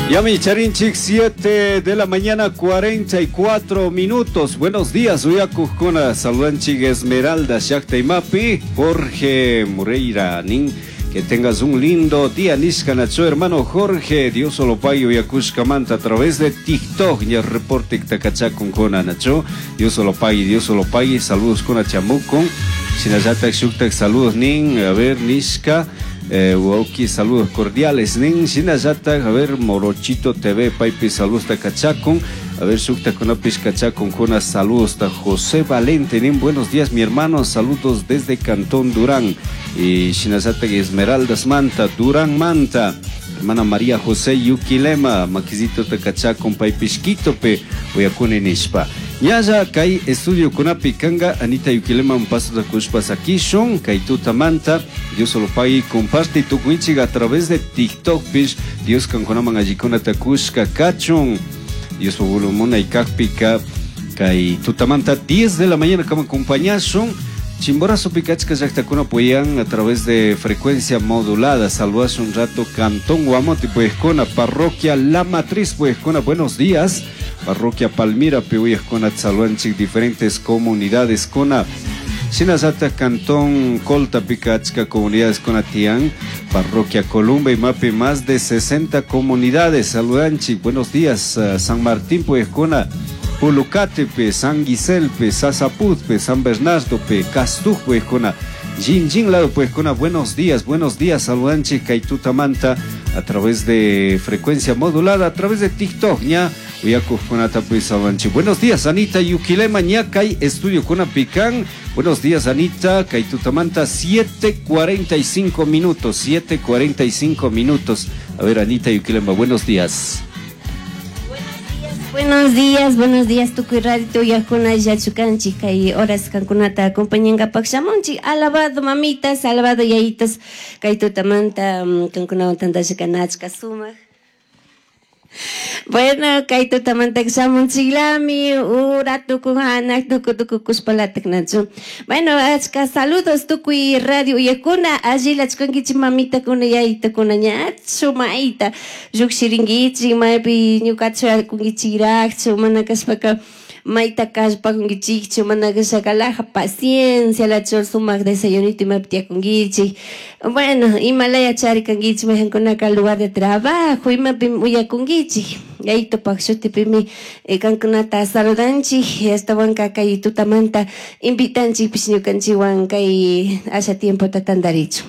Yami Charinchik, 7 de la mañana, 44 minutos. Buenos días, Uyakujkuna, saludanchik Esmeralda, Shakta Imapi, Jorge Moreira, nin. Que tengas un lindo día, nishka nacho, hermano Jorge, Dios lo pague uyakushkamanta a través de TikTok, ya reporte takachakun nacho, Dios lo pague, Dios lo pague, saludos con chamucon, shinallatak shuktak saludos nin, a ver, nishka, wauki, saludos cordiales nin, shinallatak, a ver, Morochito TV, paipi, saludos takachakun, a ver, shukta kunapis kachakun kuna, saludos ta José Valente, nin, buenos días mi hermano, saludos desde Cantón Durán, y shinallatak Esmeraldas Manta, Durán Manta, hermana María José Yuquilema, maquisito takachakun paipish Quitope, uyakuni nishpa. Ñalla kay estudio kunapi kanga Anita Yuquilema un paso de kushpa sakishun, kay tuta manta, Dios solo pague comparte tukuinchik a través de TikTok pish, Dios kankunaman allikuna takushka kachun, Dios pugulumuna y kakpika, kay tutamanta 10 de la mañana kama acompañashun, Chimborazo Picachca llaqtakuna puyan a través de frecuencia modulada. Saludas un rato Cantón Guamote, pues con Parroquia La Matriz, pues con buenos días. Parroquia Palmira, Piuyescona, Tzaluanchic, diferentes comunidades con Sinazata, Cantón Colta, Picachca, comunidades con Atián, Parroquia Columba y Mape, más de 60 comunidades. Saludanchic, buenos días, San Martín, pues con Pulucatepe, San Guiselpe, Sasaputpe, San Bernardo, pe, Castuj, pues con Jinjin lado, pues con buenos días, buenos días, saludanche, Kaituta Manta, a través de frecuencia modulada, a través de TikTok, ña, uyakujkunata, pues, saludanche. Buenos días, Anita Yuquilema, ña, kay estudio kuna pican. Buenos días, Anita, Kaituta Manta, 7:45 minutos, 7:45 minutos. A ver, Anita Yuquilema, buenos días. Buenos días, buenos días, tukuy radio uyakuna yachukanchik, kay horas kankunata acompañankapak shamunchik. Alabado mamitas, alabado yayitos, kay tutamanta, kankunawan tantalla kanachka sumak. Bueno, kay tutamanta shamunchiklami, ura tuku hanak, tuku tuku kushpalatak nachu. Bueno, achka saludos tukuy radio uyakuna, allila chkankichik mamitakuna, yayitakuna, ñachu mayta llukshirinkichik, maypi ñukachu akunkichikrakchu, mana kashpaka mayta kallpakunkichikchu, mana kashaka laja paciencia, la chor sumak desayunito imapi tiyakunkichik. Bueno, imalaya charikankichik, mayqankunaka lugar de trabajo, imapi uyakunkichik. Yayitopak shutipimi kankunata saludanchik, astawanka kay tutamanta invitanchikpish ñukanchikwan kay asha tiempota tantarichu.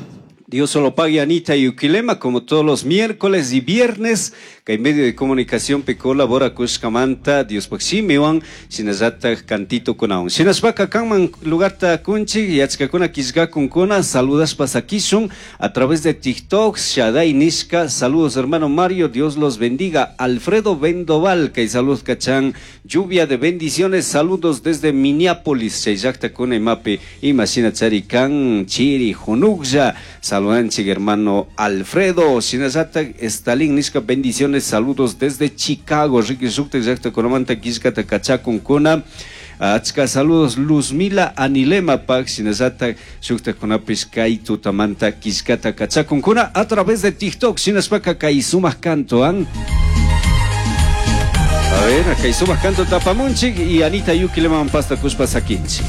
Dios solo pague Anita Yuquilema, como todos los miércoles y viernes, que en medio de comunicación pe colabora Kushkamanta, Dios paximiwan, sinazata cantito kunaun. Sinasbaka kanman lugarta kunchi, yachkakuna kisgakun kuna, saludas pasakishun a través de TikTok, Shaddai Nishka, saludos hermano Mario, Dios los bendiga. Alfredo Vendoval, que saludos cachan, lluvia de bendiciones, saludos desde Minneapolis, Chayakta kuna imapi, imagina charikan, chiri, junukja, saludanchik hermano Alfredo, Sinazata, Stalin Nishka, bendiciones, saludos desde Chicago, Ricky Sukte, Yakta Konamanta, Kishkata, Kachakun Kuna, Achka, saludos Luzmila Anilema Pak, Sinazata, Shukta Konapis, Kaitu Tamanta, Kishkata, Kachakun Kuna, a través de TikTok, Sinaspaka, Kaisumas Cantoan. A ver, Kaisumas Canto Tapamunchik y Anita Yuki le man pasta Kushpa Sakinchi.